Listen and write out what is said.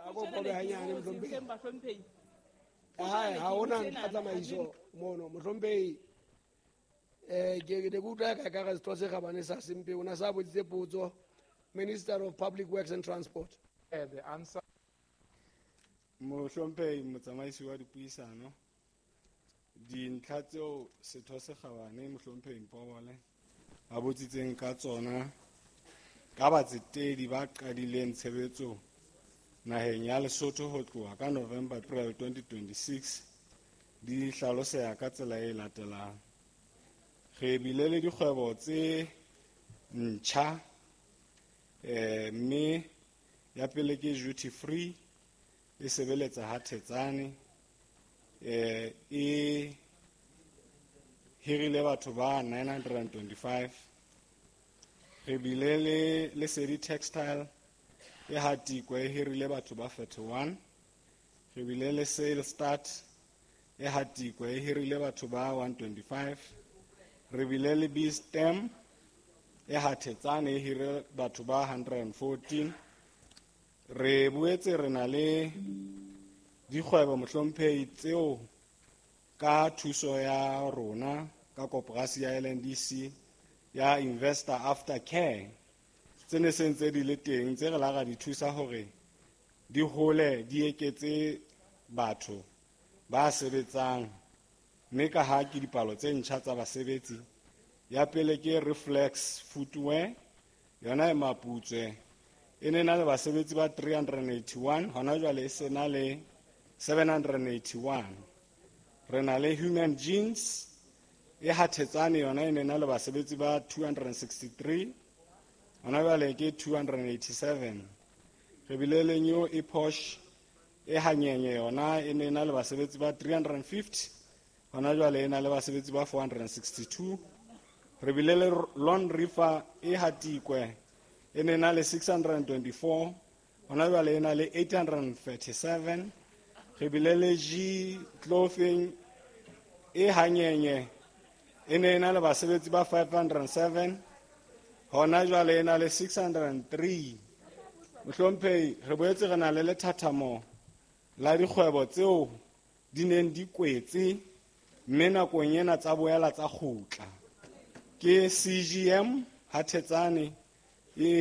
Ako kobe hanyane, mohlomphehi. Hae, ha hona ntlha tsamaiso mono, mohlomphehi. Ke ne ke utlwa ka ka setho se kgabane sa Sempe o na sa botsitse potso, Minister of Public Works and Transport. The answer. Mohlomphehi motsamaisi wa dipuisano, dintlha tseo setho se kgabane mohlomphehi Mpobole a botsitseng ka tsona ka batsetedi ba qadileng tshebetso naheng ya Lesotho ho tloha ka November April 2026 di hlaloseha ka tsela e latelang. Re bile le dikgwebo tse ntjha, mme ya pele ke duty free e sebeletsa ha Thetsane, e hirile batho ba 925. Re bile le Lesedi Textile e Hatikwe, e hirile batho ba 31. Re bile le Sale Start e Hatikwe, e hirile batho ba 125. Re bile le B-Stem e Hathetsane, e hirile batho ba 114. Re boetse re na le dikgwebo, mohlomphehi, tseo ka thuso ya rona ka koporasi ya LNDC ya Investor Aftercare tse ne se ntse di le teng, tse re la ra di thusa hore di hole, di eketse batho ba sebetsang, mme ka ha ke dipalo tse ntjha tsa basebetsi. Ya pele ke Reflex Footwear, yona e Maputswe, e ne na le basebetsi ba 381, hona jwale e se na le 781. Re na le Human Jeans e Hathetsane, yona e ne na le basebetsi ba 263, hona jwale ke 287. Re bile le New Epoch e Hanyenye, yona e ne na le basebetsi ba 350, hona jwale e na le basebetsi ba 462. Re bile le Lone River e Hatikwe, e ne na le 624, hona jwale e na le 837. Re bile le G Clothing e Hanyenye, e ne na le basebetsi ba 507, hona jwale e na le 603. Mohlomphehi, re boetse re na le lethathamo la dikgwebo tseo di neng di kwetse mme nakong ena tsa boela tsa kgutla. Ke CGM Hathetsane e